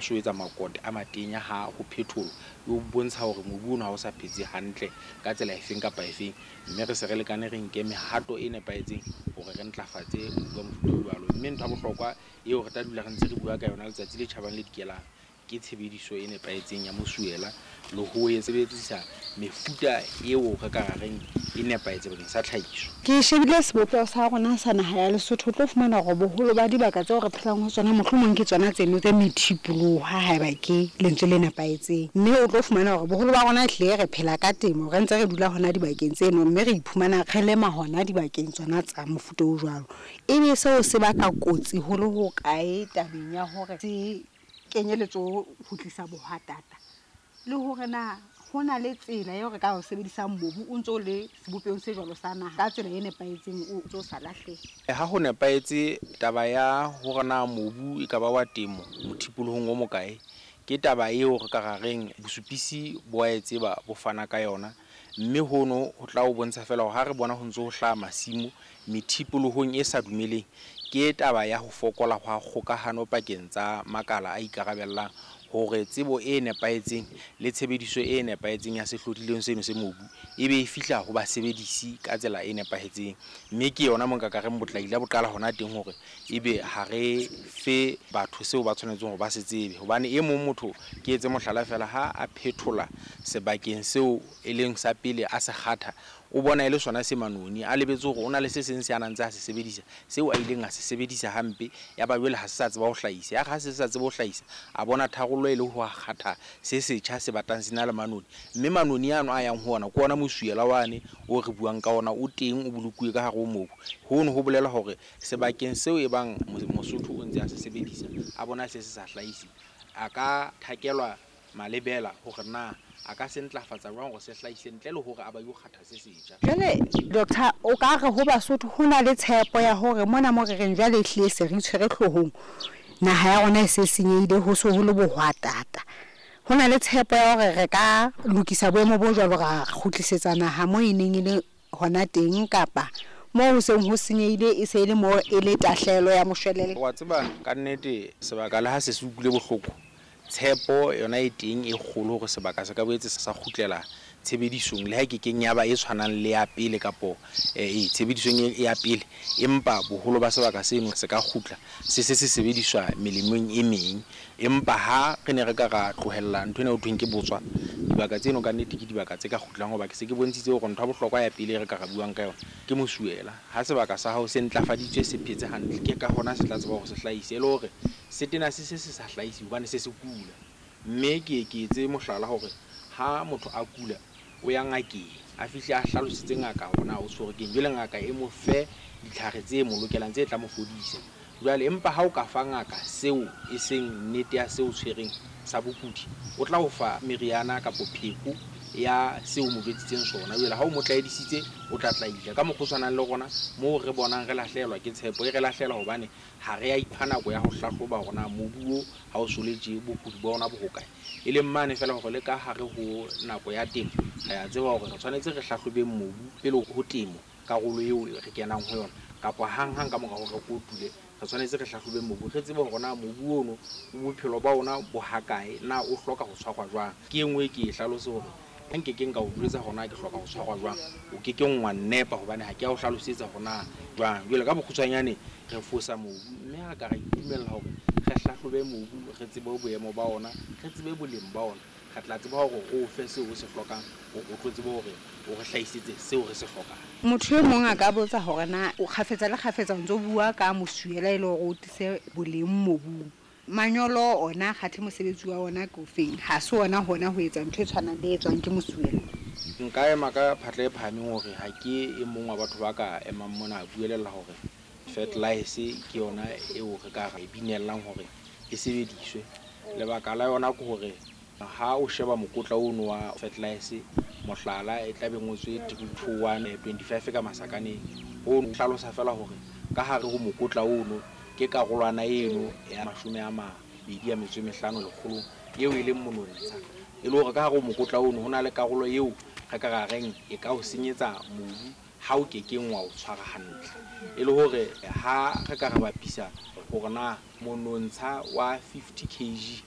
So etsa makote a matenya ha ho phetholwa, e o bontsha hore mobu ono ha o sa phetse hantle ka tsela efeng kapa efeng, mme re se re lekane re nke mehato e nepahetseng hore re ntlafatse mobu wa mofuta o jwalo. Mme ntho ya bohlokwa eo re tla dula re ntse re bua ka yona letsatsi le tjhabang le dikelang ke tshebediso e nepahetseng ya mosuwela le ho e sebedisa mefuta eo re ka reng e nepahetse bakeng sa tlhahiso. Ke shebile sebopeho sa rona sa naha ya Lesotho, o tlo fumana hore boholo ba dibaka tseo re phelang ho tsona mohlomong ke tsona tseno tse methipoloha, haeba ke lentswe le nepahetseng. Mme o tlo fumana hore boholo ba rona ehlile re phela ka temo, re ntse re dula hona dibakeng tseno, mme re iphumana re lema hona dibakeng tsona tsa mofuta o jwalo. Ebe seo se baka kotsi ho le hokae tabeng ya hore se kenye letsoho ho tlisa bohwatata, le hore na ho na le tsela eo re ka o sebedisang mobu o ntso le sebopehong se jwalo sa naha ka tsela e nepahetseng, o ntso sa lahlehe? Ha ho nepahetse taba ya hore na mobu e ka ba wa temo mothipolohong o mokae, ke taba eo re ka reng bosupisi bo a e tseba, bo fana ka yona. Mme hono ho tla o bontsha fela hore ha re bona ho ntso ho hlaha masimo methipolohong e sa dumeleng, ke taba ya ho fokola hwa kgokahano pakeng tsa makala a ikarabellang hore tsebo e nepahetseng le tshebediso e nepahetseng ya sehlodileng seno se mobu e be e fihla ho basebedisi ka tsela e nepahetseng. Mme ke yona mo nka ka reng botlaila bo qala hona teng, hore ebe ha re fe batho seo ba tshwanetseng hore ba se tsebe. Hobane e mong motho, ke etse mohlala fela, ha a phethola sebakeng seo e leng sa pele a se kgatha, o bona e le sona se manoni, a lebetse hore o na le se seng se a nang ntse a se sebedisa, seo a ileng a se sebedisa hampe, ya ba jwale ha se sa tseba ho hlahisa. Ya re ha se sa tsebe ho hlahisa, a bona tharollo e le ho kgatha se setjha se batlang se na le manoni. Mme manoni ano a yang ho ona ke ona mosuela wane o re buang ka ona, o teng o bolokuwe ka hare ho mobu. Hono ho bolela hore sebakeng seo e bang Mosotho o ntse a se sebedisa, a bona se se sa hlahise, a ka thakelwa malebela hore na a ka se ntlafatsa jwang hore se hlahise ntle le hore a ba yo kgatha se setjha. Jwale doctor, o ka re ho Basotho ho na le tshepo ya hore mona mo re reng jwale ehlile se re itshwere hloohong, naha ya rona e se senyehile, ho se ho le bohwatata. Ho na le tshepo ya hore re ka lokisa boemo bo jwalo, ra kgutlisetsa naha mo e neng e le hona teng, kapa moo ho seng ho senyehile e se e le moo e le tahlehelo ya moshwelella? Wa tseba ka nnete sebaka le ha se se utlwile bohloko, tshepo yona e teng e kgolo hore sebaka se ka boetse sa kgutlela tshebedisong, le ha e kekeng ya ba e tshwanang le ya pele kapo tshebedisong ya pele, empa boholo ba sebaka seno se ka kgutla se se se sebediswa melemong e meng. Empa ha re ne re ka ra tlohella ntho ena ho thweng ke botswa, dibaka tseno ka nnete ke dibaka tse ka kgutlang, hoba ke se ke bontshitse hore ntho ya bohlokwa ya pele e re ka ra buang ka yona ke mosuwela. Ha sebaka sa hao se ntlafaditswe, se phetse hantle, ke ka hona se tla tseba hore se hlahise, e le hore se tena se se se sa hlahise hobane se se kula. Mme ke ke etse mohlala hore ha motho a kula, o ya ngakeng, a fihle a hlalosetse ngaka hore na o tshwerwe keng, jwale ngaka e mo fe ditlhare tse mo lokelang tse tla mo fodisa. Jwale empa ha o ka fa ngaka seo e seng nnete ya seo tshwereng sa bokudi, o tla o fa meriana kapo pheko ya seo mo jwetsitseng sona. Jwale ha o mo tlaedisitse, o tla tlaila. Ka mokgwa o tshwanang le rona moo re bonang re lahlehelwa ke tshepo, e re lahlela hobane ha re a ipha nako ya ho hlahloba hore na mobu o ha o so le tje, bokudi ba ona bo hokae. E leng mane fela hore le ka hare ho nako ya temo, re a tseba hore re tshwanetse re hlahlobeng mobu pele ho temo, karolo eo re kenang ho yona, kapa hanghang ka mora hore re kotule, re tshwanetse re hlahlobeng mobu, re tsebe hore na mobu ono bophelo ba ona bo hakae, na o hloka ho tshwarwa jwang. Ke e nngwe ke e hlalose hore ha nkekeng ka o jwetsa hore na ke hloka ho tshwarwa jwang, o kekeng wa nnepa hobane ha ke a o hlalosetsa hore na jwang. Jwale ka bokgutshwanyane re fosa mobu, mme ha re ka ra itumella hore re hlahlobe mobu, re tsebe boemo ba ona, re tsebe boleng ba ona, re tla tseba hore o fe seo o se hlokang, hore o tlo tsebe hore o re hlahisetse seo re se hlokang. Motho e mong a ka botsa hore na o kgafetsa le kgafetsa o ntso bua ka mosuwela e le hore o tlise boleng mobung. Manyolo ona kgathe mosebetsi wa ona ke ofeng? Ha se ona hona ho etsa ntho e tshwanang le e etswang ke mosuwela? Nka ema ka phatla e phahameng hore ha ke e mong wa batho ba ka emang mona a buelella hore fertilizer ke yona eo re ka re binellang hore e sebediswe. Lebaka la yona ke hore ha o sheba mokotla ono wa fertilizer, mohlala e tla be ngotswe 3 2 1 25 ka masakaneng, ho hlalosa fela hore ka hare ho mokotla ono ke karolwana eno ya 25 lekgolong eo e leng monontsha. E le hore ka hare ho mokotla ono ho na le karolo eo re ka ra reng e ka o senyetsa mobu ha o kekeng wa o tshwara hantle. E le hore ha re ka re bapisa hore na monontsha wa 50 kg